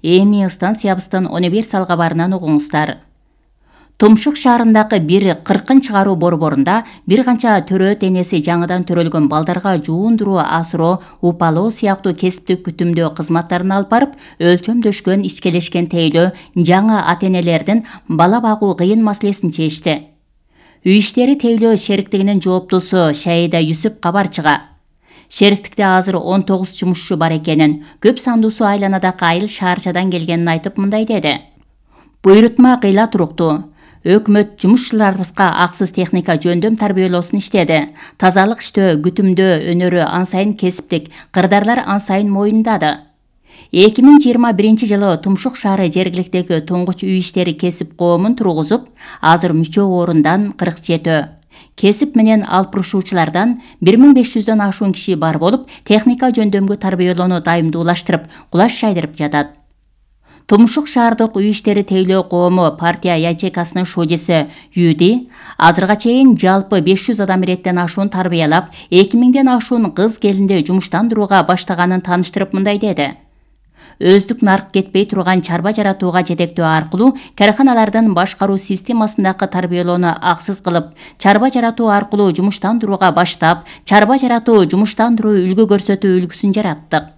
Эми станциябыздын универсал кабарынан угуңуздар. Тумшук шаарындагы бир кыркын чыгаруу борборунда бир канча төрө денеси жаңыдан төрөлгөн балдарга жуундуруу, асыроо, упалоо сыяктуу кесиптик күтүмдөө кызматтарын алып барып, өлчөмдөшкөн, ичкелешкен тейлөө жаңы ата-энелердин бала багуу кыйын маселесин чечти. Үй иштери тейлөө шериктигинин жооптусу Шаида Юсуп кабарчыга шериктикте азыр 19 жумушчу бар экенин, көп сандуусу айланадагы айыл шаарчадан келгенин айтып мындай деди. Буйрутма кыйла туруктуу. Өкмөт жумушчуларыбызга аксыз техника жөндөм тарбиялоосун иштеди. Тазалык иштөө, күтүмдөө өнөрү ан сайын кесиптик, кырдаарлар ан сайын моюндады. 2021-жылы Тумшук шаары жергиликтеги туңгуч үй иштери кесип коомун тургузуп, азыр мүчө орундан 47, кесип менен алып урушуучулардан 1500дөн ашуун киши бар болуп, техника жөндөмгө тарбиялоону дайымдуулаштырып, кулаш жайдырып жатат. Тумшук шаардык үй иштери тейлөө коому партия ячейкасынын шудиси Юди азырга чейин жалпы 500 адам иреттен ашуун тарбиялап, 2000ден ашуун кыз келинди жумуштандырууга баштаганын тааныштырып мындай деди. Өздүк нарк кетпей турган чарба жаратууга жетектөө аркылуу карканалардын башкаруу системасындагы тарбиялоону аксыз кылып, чарба жаратуу аркылуу жумуштандырууга баштап, чарба жаратуу жумуштандыруу үлгү көрсөтүү үлгүсүн жараттык.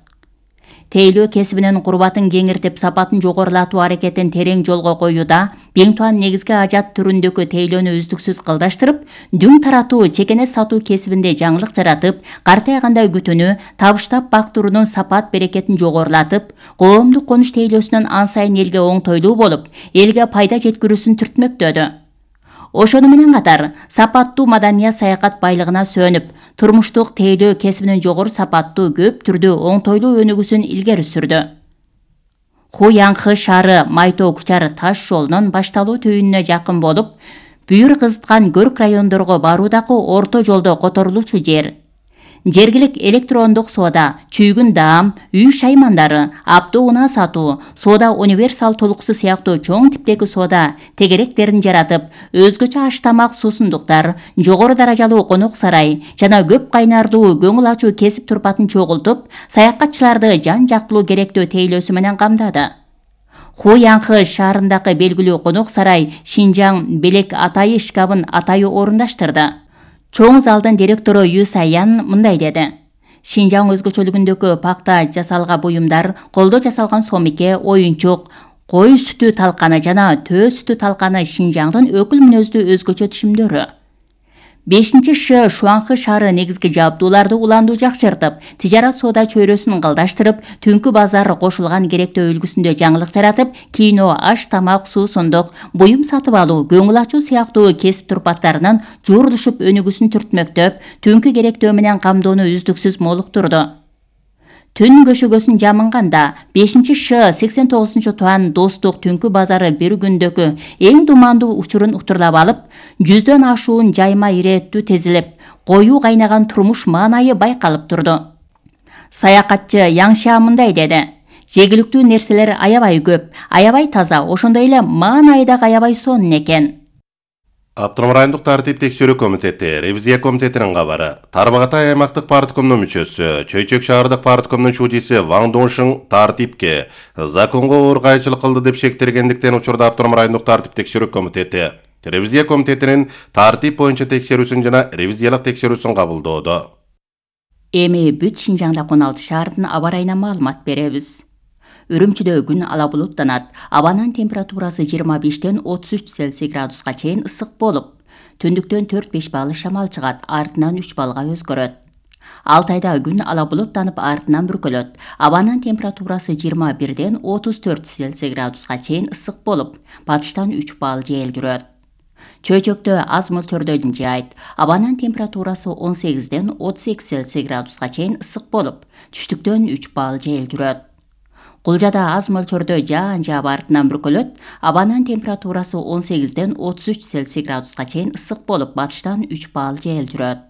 Тейлөө кесибинин курбатын кеңиртип, сапатын жогорулатуу аракетин терең жолго коюуда, бең туан негизги ажат түрүндөгү тейлөөнү үздүксүз кылдаштырып, дүң таратуу, чекене сатуу кесибинде жаңылык жаратып, картайганда күтүүнү, табыштап бактыруунун сапат берекетин жогорулатып, коомдук конуш тейлөөсүнүн ан сайын элге оңтойлуу болуп, элге пайда жеткирүүсүн түртмөктөдү. Ошону менен катар, сапаттуу маданият саякат байлыгына сөнүп, турмуштук тейлөө кесибинин жогору сапаттуу, көп түрдүү, оңтойлуу өнүгүүсүн илгери сүрдү. Хуянхы шаары Майтоо Кучар таш жолунун башталуу түйүнүнө жакын болуп, бүйүр кызыткан көрк райондорго баруудагы орто жолдо которулуучу жер. Жергилик электрондук соода, чүйгүн даам, үй шаймандары, автоунаа сатуу, соода универсал толуксу сыяктуу чоң типтеги соода тегеректерин жаратып, өзгөчө аш тамак суусундуктар, жогору даражалуу конок сарай жана көп кайнардуу көңүл ачуу кесип турпатын чогултуп, саякатчыларды жан жактылуу керектөө тейлөөсү менен камдады. Хуянхы шаарындагы белгилүү конок сарай Шинжаң белек атайы шкабын атайы орундаштырды. Чоң залдын директору Ю Саян мындай деди. Шинжаң өзгөчөлүгүндөгү пакта жасалган буюмдар, колдо жасалган сомике, оюнчук, кой сүтү талканы жана төө сүтү талканы Шинжаңдын өкүл мүнөздүү өзгөчө түшүмдөрү. 5-Ш Шуанхы шаары негизги жабдууларды уландуу жакшыртып, тижарат соода чөйрөсүн кылдаштырып, түнкү базар кошулган керектөө үлгүсүндө жаңылык жаратып, кино, аш тамак, суусундук, буюм сатып алуу, көңүл ачуу сыяктуу кесип турпаттарынын жуурулушуп өнүгүүсүн түртмөктөп, түнкү керектөө менен камдоону үздүксүз молуктурду. Түн көшөгөсүн жамынганда 5-Ш 89-туан достук түнкү базары бир күндөгү эң думандуу учурун уктурлап алып, 100дөн ашуун жайма ирээттүү тезилип, коюу кайнаган турмуш маанайы байкалып турду. Саякатчы Яңша мындай деди. Жегиликтүү нерселер аябай көп, аябай таза, ошондой эле маанайы да аябай сонун экен. Автоном райондук тартип текшерүү комитети, ревизия комитетинин кабары. Тарбағатай аймактык парткомдун мүчөсү, Чөйчөк шаардык парткомдун шудиси Ваң Доншың тартипке законго ыргайчылык кылды деп шектелгендиктен учурда Автоном райондук тартип текшерүү комитети ревизия комитетинин тартип боюнча текшерүүсүн жана ревизиялык текшерүүсүн кабылдоодо. Эми бүт Шинжаңда 16 шаардын аба ырайына маалымат беребиз. Үрүмчүдө күн ала булуттанат. Абанын температурасы 25ден 33 Цельсий градуска чейин ысык болуп, түндүктөн 4-5 балл шамал чыгат, артынан 3 баллга өзгөрөт. Алтайда күн ала булуттанып, артынан бүркөлөт. Абанын температурасы 21ден 34 Цельсий градуска чейин ысык болуп, батыштан 3 балл жел жүрөт. Чөйчөктө аз мөлчөрдө жаайт. Абанын температурасы 18ден 38 Цельсий градуска чейин ысык болуп, түштүктөн 3 балл жел жүрөт. Кулжада аз мөлчөрдө жаан жаап артынан бүркөлөт. Абанын температурасы 18ден 33 Цельсий градуска чейин ысык болуп, батыштан 3 балл жел жүрөт.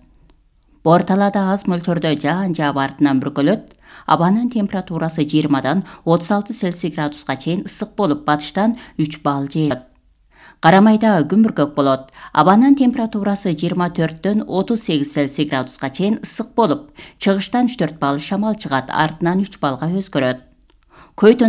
Борталада аз мөлчөрдө жаан жаап артынан бүркөлөт. Абанын температурасы 20дан 36 Цельсий градуска чейин ысык болуп, батыштан 3 балл жел жүрөт. Карамайда күн бүркөк болот. Абанын температурасы 24дөн 38 Цельсий градуска чейин ысык болуп, чыгыштан 3-4 балл шамал чыгат, артынан 3 баллга өзгөрөт. Көйтөн